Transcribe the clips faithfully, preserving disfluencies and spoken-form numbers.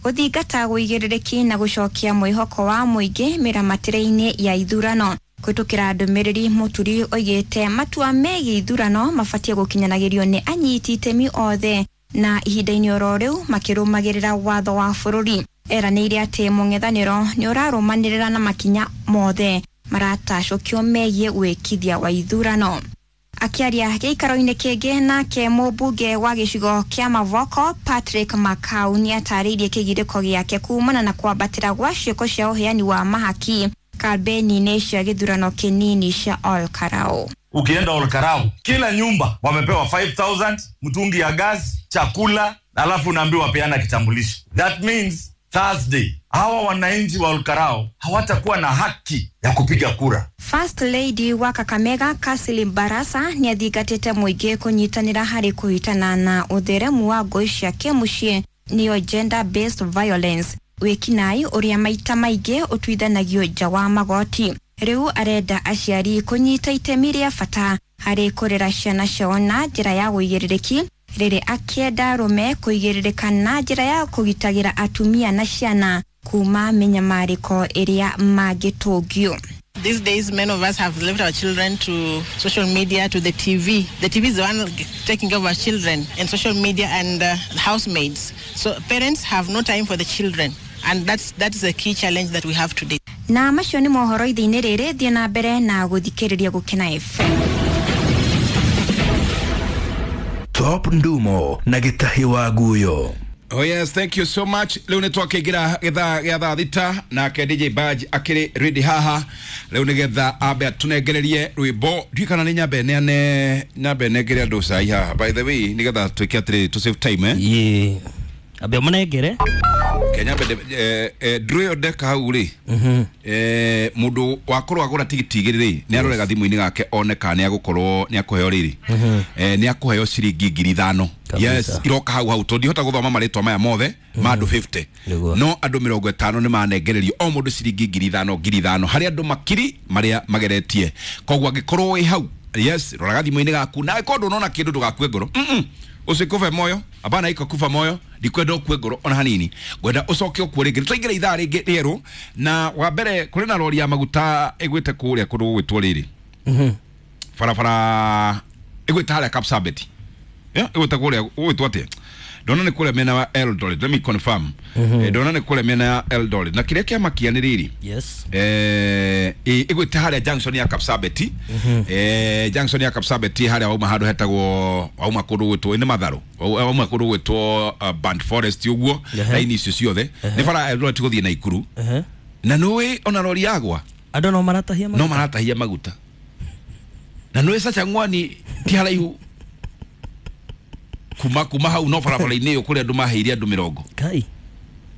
Gũthingata ũigĩrĩrĩki na gũcokia mwĩhoko wa mũingĩ mĩramatĩre-inĩ ya ithurano. Kũhĩtũkĩra ndũmĩrĩri Mũturi oigĩte matua megiĩ ithurano mabatiĩ gũkinyanagĩrio nĩ anyiti itemi othe na ihinda-inĩ oro rĩu makĩrũmagĩrĩra watho wa bũrũri. Eranĩire atĩ mũng'ethanĩro nĩ ũrarũmanĩrĩra na makinya mothe maratacũkio megiĩ wĩkithia wa ithurano. Akĩaria gĩikaro-inĩ kĩngĩ nake mũmbunge wa gĩcigo kĩa Mavoko Patrick Makau nĩatarĩirie kĩgirĩko gĩake kumana na kwambatĩra gwa ciĩko cia ũheani wa mahaki kambeni-inĩ cia gĩthurano kĩnini cia Ol Kalou. Ukienda Ol Kalou, kila nyumba wamepewa five thousand, mtungi ya gas, chakula, alafu unaambiwa peana kitambulisho. That means Thursday hawa wananchi wa Ol Kalou hawatakuwa na haki ya kupiga kura. First Lady wa Kakamega Kasili Barasa nĩathingatĩte mũingĩ kũnyitanĩra harĩ kũhitana na ũtheremu wa ngũĩ cia kĩmũciĩ nĩyo gender based violence, wĩkinaĩ ũrĩa maita maingĩ ũtuithanagio nja wa magoti. Rĩu arenda aciari kũnyita itemi rĩa bata harĩ kũrera ciana ciao na njĩra ya ũigĩrĩrĩki, rĩrĩ akĩenda arũme kũigĩrĩrĩka na njĩra ya kũgitagĩra atumia na ciana kuma mĩnyamarĩko ĩrĩa mangĩtũngio. These days, many of us have left our children to social media, to the T V. The T V is the one taking care of our children, and social media and, uh, housemaids. So parents have no time for the children, and that's, that is a key challenge that we have today. Na macio nĩ mohoro ithe-inĩ rĩrĩ, thiĩ na mbere na gũthikĩrĩria Gũkena F M. Top Ndumo na Gĩtahi wa Guyo. Oh yes, thank you so much. Leo nĩ twakĩingĩra gĩthaa gĩa thaa thita nake D J Badge akĩrĩ ready haha. Leo nĩgetha ambe atũnengererie rwĩmbo. Ndiũĩ kana nĩ nyambe neane, nyambe nengere andũ cai haha. By the way, nĩgetha twĩke atĩrĩ, to save time, eh? Yee. Ambe ũmũnengere. Kenya mbere, eh, eh, ndũ ĩyo ndeka hau rĩ. Mhm. Eh, mũndũ wakorwo agũra tigiti igĩrĩ rĩ, nĩ arorega thimũ-inĩ gake one kana nĩ agũkorwo nĩ akũheo rĩrĩ. Mhm. Eh, nĩ akũheo ciringi ngiri ithano. Kabisa. Yes, iroka hau hau tondũ ndihota gũthoma marĩtwa maya mothe ma andũ fifty. Nĩguo. No andũ mĩrongo ĩtano nĩ manengererio o mũndũ ciringi ngiri ithano, ngiri ithano harĩ andũ makiri marĩa mageretie. Koguo angĩkorwo wĩ hau, yes, roraga thimũ-inĩ gaku na angĩkorwo ndũnona kĩndũ ndũgakue ngoro. Mm-mm. Usikufe moyo, hapana iko kufa moyo, ndikwenda ukue ngoro ona hanini. Ngwenda ucoke ukue rĩngĩ. Nĩtwaingĩra ithaa rĩngĩ rĩerũ na wa mbere kũrĩ na rori ya maguta ĩgwĩte kũrĩa kũndũ gũgwĩtwo rĩrĩ. Mhm. Barabara ĩgwĩte harĩa Kapsabet. Yeah, ĩgwĩte kũrĩa gũgwĩtwo atĩa? Ndona nĩ kũrĩa mĩena ya Eldoret. Let me confirm. Mhm. Eh, ndona nĩ kũrĩa mĩena ya Eldoret. Na kĩrĩa kĩamakia nĩ rĩrĩ. Yes. Eh, ĩ, ĩgwĩte harĩa junction ya Kapsabet. Mhm. Eh, junction ya Kapsabet harĩa wauma handũ hetagwo, wauma kũndũ gwĩtwo nĩ Matharũ. Wauma kũndũ gwĩtwo, uh, Band Forest ũguo, Ehe. raini icio ciothe. Ehe. Nĩ bara ya Eldoret gũthiĩ Naikuru. Ehe. Na nĩũĩ ona rori yagwa? Andũ no maratahia maguta. No maratahia maguta. Na nĩũĩ Sachang'wani ti haraihu kuma, kuma hau no barabara-inĩ ĩyo kũrĩa andũ maheire andũ mĩrongo. Kai.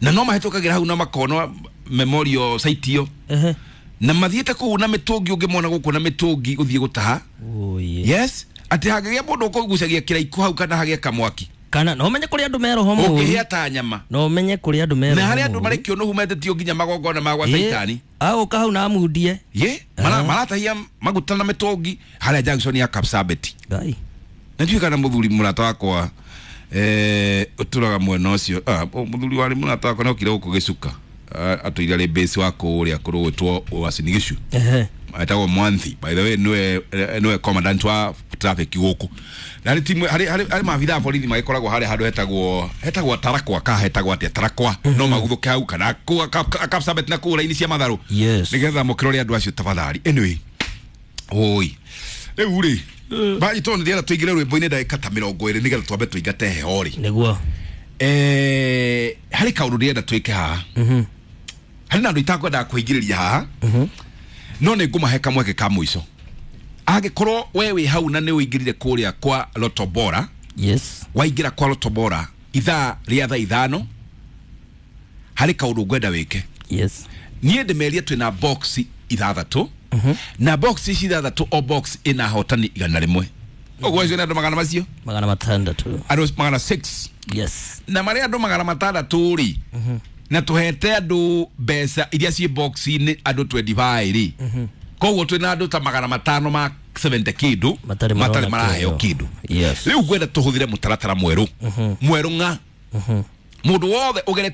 Na no mahĩtũkagĩra hau na makona memorial site ĩyo. Ehe. Na mathiĩte kũu na mĩtũngi ũngĩmona gũkũ na mĩtũngi gũthiĩ gũtaha. Oye. Yes, atĩ hangĩgĩa mũndũ ũkũgucagia kĩraikũ hau kana hagĩe kamwaki. Kana no menye kũrĩa andũ meroho mũru. Ũngĩhĩa ta nyama. No menye kũrĩa andũ meroho Na harĩa andũ mũru. marĩ kĩũnũhu metĩtio nginya magongona ma gwa Ĩ, Caitani. Agũka hau na amundie. Ye, mara-, Aha. maratahia maguta na mĩtũngi harĩa junction ya Kapsabet. Ngai. Na ndiũĩ kana mũthuri mũrata wakwa, eh, ũtũraga mwena ũcio. Ah, mũthuri warĩ mũrata wakwa nĩokire gũkũ gĩcuka. Ah, atũire arĩ base wa kũrĩa kũrũ gwĩtwo Uasin Gishu. Ehe. Etagwo Mwanthi. By the way, nĩwe, eh, nĩwe commandant wa traffic gũkũ. Na harĩ timu, harĩ, harĩ, harĩ maabithaa a borithi magĩkoragwo harĩa handũ hetagwo, hetagwo Tarakwa, ka hetagwo atĩa Tarakwa. Mhm. No maguthũke hau kana kũ-, ka-, ka-, Kapsabet na kũu raini cia Matharũ. Yes. Nĩgetha mũkĩrore andũ acio tafadhali. Anyway. Oi. Rĩu rĩ, Eh. Baji tondũ ndĩrenda tũingĩre rwĩmbo-inĩ ndagĩka ta mĩrongo ĩrĩ nĩgetha twambe tũingate heho rĩ. Nĩguo. Eh, harĩ kaũndũ ndĩrenda twĩke haha. Mhm. Harĩ na andũ itakwendaga kũingĩrĩria haha. Mhm. No nĩ ngũmahe kamweke ka mũico. Angĩkorwo we wĩ hau na nĩ ũingĩrire kũrĩa kwa Lotto Bora. Yes. Waingĩra kwa Lotto Bora ithaa rĩa thaa ithano, harĩ kaũndũ ngwenda wĩke. Yes. Niĩ ndĩmerie twĩna box ithathatũ. Mhm. Na box ici ithathatũ o box ĩna ahotani igana rĩmwe. Ũguo acio nĩ andũ magana macio? Magana matandatũ. Andũ magana six. Yes. Na marĩa andũ magana matandatũ rĩ, Mhm. na tũhete andũ mbeca iria ciĩ box-inĩ andũ twenty-five rĩ. Mhm. Koguo twĩna andũ ta magana matano ma seventy kĩndũ, Matarĩ matarĩ marona maraheo kĩndũ. kĩndũ. Yes. Rĩu ngwenda tũhũthĩre mũtaratara mwerũ. Mhm. Mwerũ ng'a. Mhm. Mũndũ wothe ũgeretie